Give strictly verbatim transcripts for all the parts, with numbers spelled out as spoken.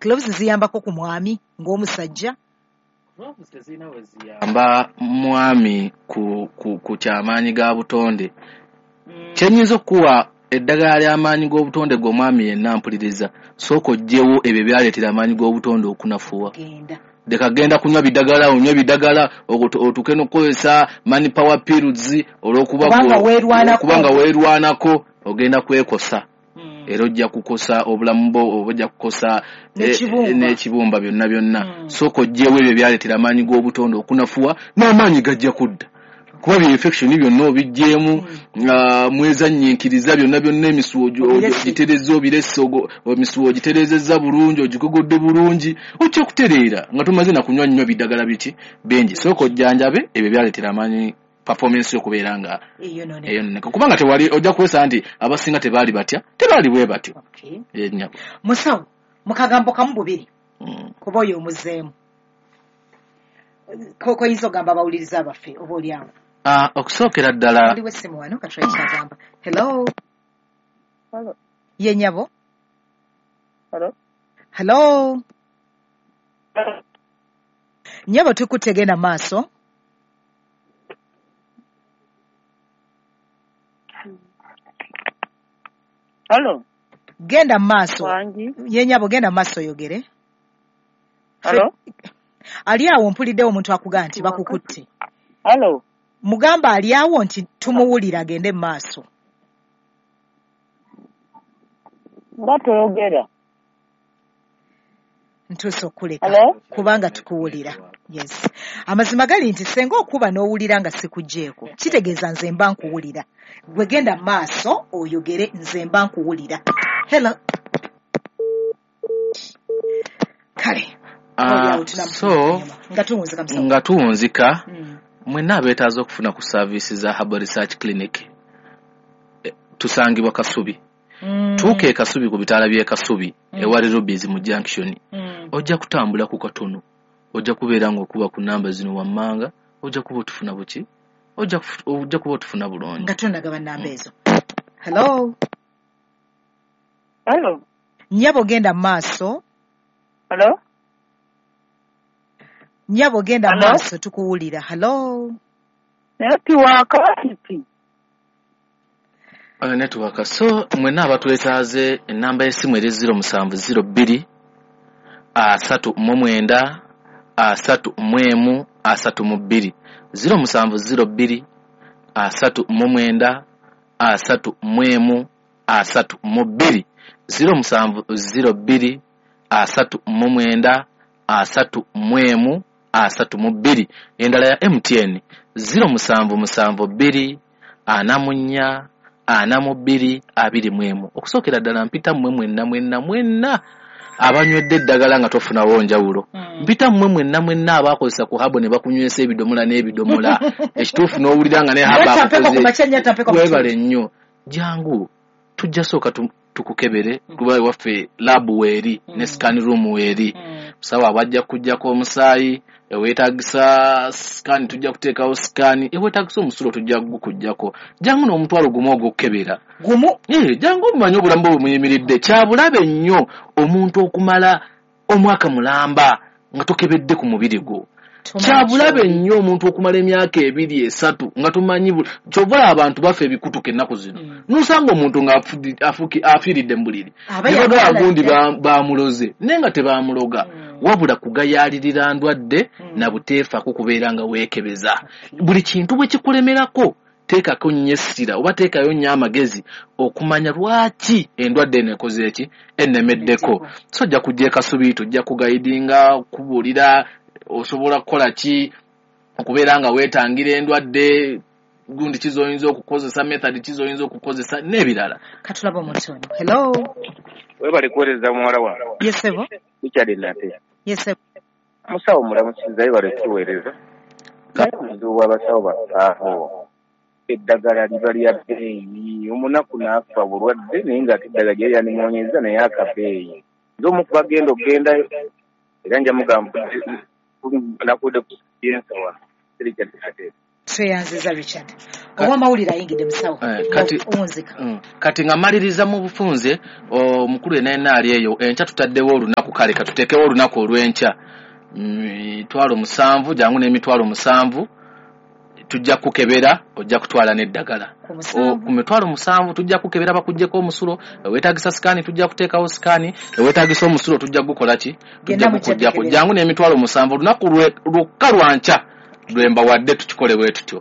Cloves ziyambako ku mwami ng'omusajja? Cloves tezirina we ziyamba mwami ku, ku, ku kyamaanyi ga butonde. Kye nnyinza okukuwa eddagala ly'amaanyi g'obutonde g'omwami yenna mpuliriza, sooka oggyewo ebyo byaleetera amaanyi g'obutonde okunafuwa. Genda. Leka genda kunywa bidagala, onywe bidagala, otuuke n'okukozesa man power pills olw'okuba Kubanga weerwanako. Kubanga weerwanako ogenda kwekosa. Era ojja kukosa obulamu bwo, oba ojja kukosa N'ekibumba. n'ekibumba byonna byonna. Mm. Sooka oggyewo ebyo byaleetera amaanyi g'obutonde okunafuwa, n'amaanyi gajja kudda. Kuba bye infection byonna obiggyeemu, ah, mwezannyiikiriza byonna byonna, emisuwa ogi-, Obirese. ogiterezza, obirese, ogo-, emisuwa ogitereezezza bulungi, ogigogodde bulungi, ojja kutereera nga tomaze na kunywa nnyo bidagala biki bingi. Sooka ojjanjabe ebyo byaleetera amaanyi performance y'okubeera nga Eyonooneka. eyonooneka. Kubanga tewali, ojja kwesa nti abasinga tebaali batya, tebaali bwe batyo. Okay. Ye nnyabo. Musawo, mu kagambo kamu bubiri, Mm. kuba oyo omuzeemu. Ko-, koyinza ogamba abawuliriza baffe oba oli awo? Ah, okusookera ddala Waliwo essimu wano, katulabe kyagamba. Hello. Hello. Ye nnyabo. Hello. Hello. Nnyabo, tukutte, genda maaso. Hello. Genda maaso. Wangi. Ye nnyabo, genda maaso oyogere. Hello. Ali awo mpuliddewo omuntu akugamba nti bakukutte. Hello. Mugamba ali awo nti tumuwulira, agende mu maaso. Nga toyogera. Ntuuse okuleka. Hello? Kubanga tukuwulira. Yes. Amazima gali nti senga okuba n'owulira nga sikuggyeeko, kitegeeza nze mba nkuwulira. Gwe genda mu maaso oyogere, nze mba nkuwulira. Hello. Kale. Ah, Oli awo tunamufunira so, ennyuma. Nga tuwunzika musawo. Nga tuwunzika, Mm. mwenna abeetaaza okufuna ku service za Herbal Research Clinic, eh, tusangibwa Kasubi. Mm. Tuuka e Kasubi ku bitaala by'e Kasubi, Mm. ewali Rubies mu junction. Mm. Ojja kutambula ku katono, ojja kubeera ng'okuba ku namba zino wammanga, ojja kuba otufuna buki? Ojja kufu-, ojja kuba otufuna bulungi. Nga tonagaba namba ezo. Hello. Hello. Nnyabo, genda mu maaso. Hello. Nnyabo, genda mu Hello? maaso, tukuwulira. Hello. Network kiti. Uh, network. So mwenna abatwetaaze, ennamba y'essimu eri zero musanvu zero bbiri asatu mu mwenda asatu mu emu asatu mu bbiri. Zero musanvu zero bbiri asatu mu mwenda asatu mu emu asatu mu bbiri. Zero musanvu zero bbiri asatu mu mwenda asatu mu emu asatu mu bbiri. Endala ya M T N zero musanvu musanvu bbiri ana mu nnya ana mu bbiri abiri mu emu. Okusookera ddala mpita mmwe mwenna mwenna mwenna abanywedde eddagala nga tofunawo njawulo. Mm. Mpita mmwe mwenna mwenna abaakozesa ku habo ne bakunywesa ebidomola n'ebidomola. Ekituufu n'owulira nga ne habo Naye tampeko akukoze. ku makya nnyo, tampeko ku Weebale makya. nnyo. Jangu tujja sooka tu-, tukukebere, Mm. kuba ewaffe lab weeri, ne Mm. scan room weeri. Mm. Musawo abajja kuggyako omusaayi, eweetaagisa scan tujja kuteekawo scan, eweetaagisa omusulo tujja kugukuggyako. Jangu n'omutwalo gumu ogw'okukebera. Gumu? Eh, jangu omanye obulamu bwe bumuyimiridde. Kya bulabe nnyo omuntu okumala omwaka mulamba nga tokebedde ku mubiri gwo. Tomanyi Kya bulabe ky'oli. nnyo omuntu okumala emyaka ebiri esatu nga tomanyi bu-, ky'ova olaba abantu bafa ebikutuka ennaku zino. Mm. N'osanga omuntu nga afudi-, afuki-, afiiridde mu buliri. Aba Ne bagamba yagala gundi dda. ba-, bamuloze, naye nga tebamuloga. Mm. Wabula kugayaalirira ndwadde Mm. na buteefaako kubeera nga weekebeza. Okay. Buli kintu bwe kikulemerako, teekako nnyo essira oba teekayo nnyo amagezi okumanya lwaki endwadde eno ekoze eki, ennemeddeko. Ennemeddeko. So ojja kujja e Kasubi, tujja kugayidinga, kubuulira osobola kukola ki okubeera nga weetangira endwadde, gundi ki z'oyinza okukozesa, method ki z'oyinza okukozesa n'ebirala. Katulaba omuntu ono. Hello. Weebale kuweereza muwala wange. Yes, sebo. Richard Nate. Yes, sebo. Musawo mulamusiza, weebale kutuweereza. Naye obuzibu bw'abasawo baffe aho, eddagala liba lya bbeeyi, omunaku n'afa bulwadde naye ng'ate eddagala lyali lyanimuwonyezza naye akabeeyi. Nze omu ku bagenda okugendayo, era nja mugamba nakudde ku yensa wano. Richard Nate. Tweyanziza Richard. Owamawulire ayingidde musawo. Kati kati nga maliriza mu bufunze omukulu yenna yenna ali eyo enkya tutaddewo olunaku, kale katuteekewo olunaku olw'enkya mitwalo musanvu, jangu n'emitwalo musanvu tujja kukebera, ojja kutwala n'eddagala ku mitwalo musanvu tujja kukebera bakuggyeko omusulo, eweetagisa sikaani tujja kuteekawo sikaani, eweetagisa omusulo tujja kugukola ki, tujja kukuggyako. Jangu n'emitwalo musanvu olunaku lwokka lwa nkya lwembawadde tukikole bwe tutyo.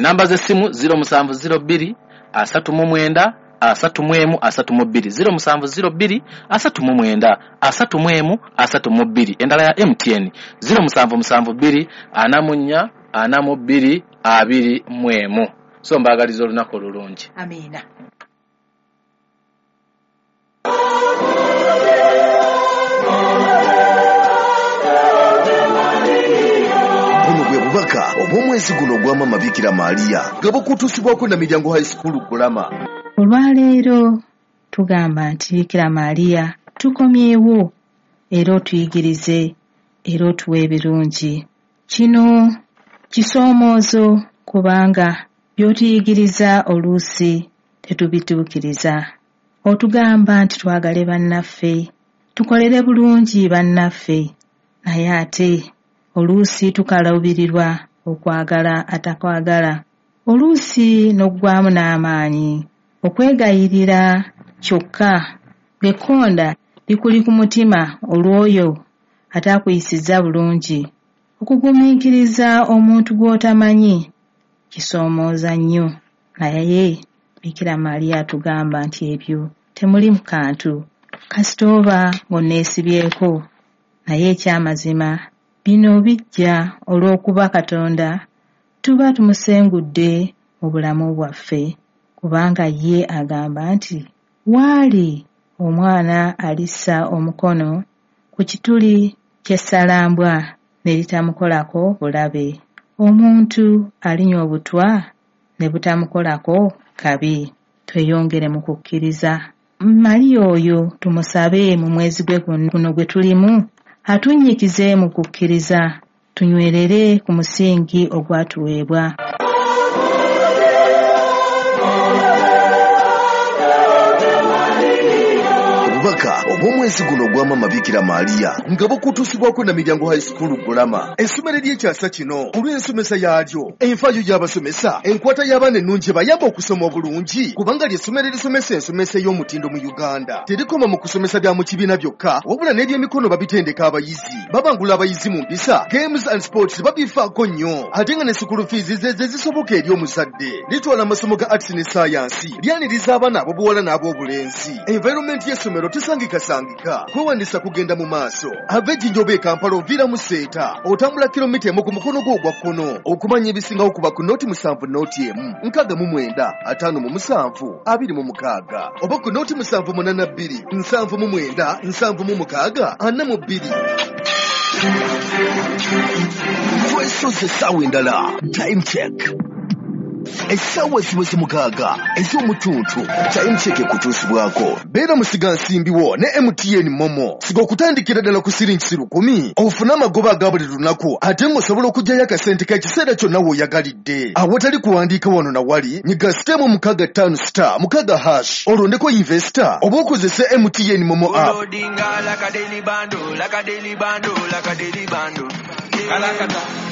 Namba z'essimu ziro musanvu ziro bbiri asatu mu mwenda asatu mu emu asatu mu bbiri, ziro musanvu ziro bbiri asatu mu mwenda asatu mu emu asatu mu bbiri. Endala ya M T N ziro musanvu musanvu bbiri ana mu nnya ana mu bbiri abiri mu emu. So mbaagaliza olunaku olulungi. Amiina. Bubaka obw'omwezi guno ogwa Maama Bikira Maria nga bukutuusibwako na Miryango High School Kulama. Olwaleero tugamba nti Bikira Maria tukomyewo era otuyigirize era otuwe ebirungi. Kino kisoomoozo kubanga by'otuyigiriza oluusi tetubituukiriza. Otugamba nti twagale bannaffe, tukolere bulungi bannaffe, naye ate oluusi tukaluubirirwa okwagala atakwagala, oluusi n'oggwamu n'amaanyi okwegayirira kyokka ng'ekkonda likuli ku mutima olw'oyo ataakuyisizza bulungi. Okugumiikiriza omuntu gw'otamanyi kisoomooza nnyo, naye Bikira Maria atugamba nti ebyo temuli mu kantu kasita oba ng'onneesibyeko. Naye ekyamazima bino bijja olw'okuba Katonda tuba tumusengudde mu bulamu bwaffe, kubanga ye agamba nti waali omwana alissa omukono ku kituli ky'essalambwa ne litamukolako bulabe, omuntu alinywa obutwa ne butamukolako kabi. Tweyongere mu kukkiriza. Maria oyo tumusabe mu mwezi gwe guno gwe tulimu atunnyikize mu kukkiriza, tunywerere ku musingi ogwatuweebwa. Obubaka obw'omwezi guno ogwa Maama Bikira Maria nga bukutuusibwako na Miryango High School Kulama, essomero ery'ekyasa kino olw'ensomesa yaalyo, enfaayo y'abasomesa, enkwata y'abaana ennungi ebayamba okusoma obulungi, kubanga ly'essomero erisomesa ensomesa ey'omutindo mu Uganda. Terikoma mu kusomesa bya mu kibiina byokka, wabula n'ebyemikono babitendeka abayizi, babangula abayizi mu mpisa, games and sports babifaako nnyo, ate nga ne school fees ze ze zisoboka eri omuzadde. Litwala amasomo ga arts ne science, lyaniriza abaana ab'obuwala n'ab'obulenzi. Environment y'essomero tesangikasangika, kwewandisa kugenda mu maaso. Ava Ejjinja oba e Kampala oviira mu Seeta, otambula kilomita emu ku mukono gwo ogwa kkono. Okumanya ebisingawo kuba ku nooti musanvu nooti emu nkaaga mu mwenda ataano mu musanvu abiri mu mukaaga oba ku nooti musanvu munaana bbiri nsanvu mu mwenda nsanvu mu mukaaga ana mu bbiri. Twesoze essaawa endala. Time check. Essaawa ziweze mukaaga ez'omutuntu. Time check ekutuusibwako. Beera musigansimbi wo ne M T N Momo. Siga okutandikira ddala ku siringi lukumi ofune amagoba aga buli lunaku, ate ng'osobola okuggyayo akasente k'ekiseera kyonna w'oyagalidde. Awatali kuwandiika wano na wali, nyiga sitemu mukaaga ttaano star mukaaga hash olondeko investor oba okozese M T N Momo app.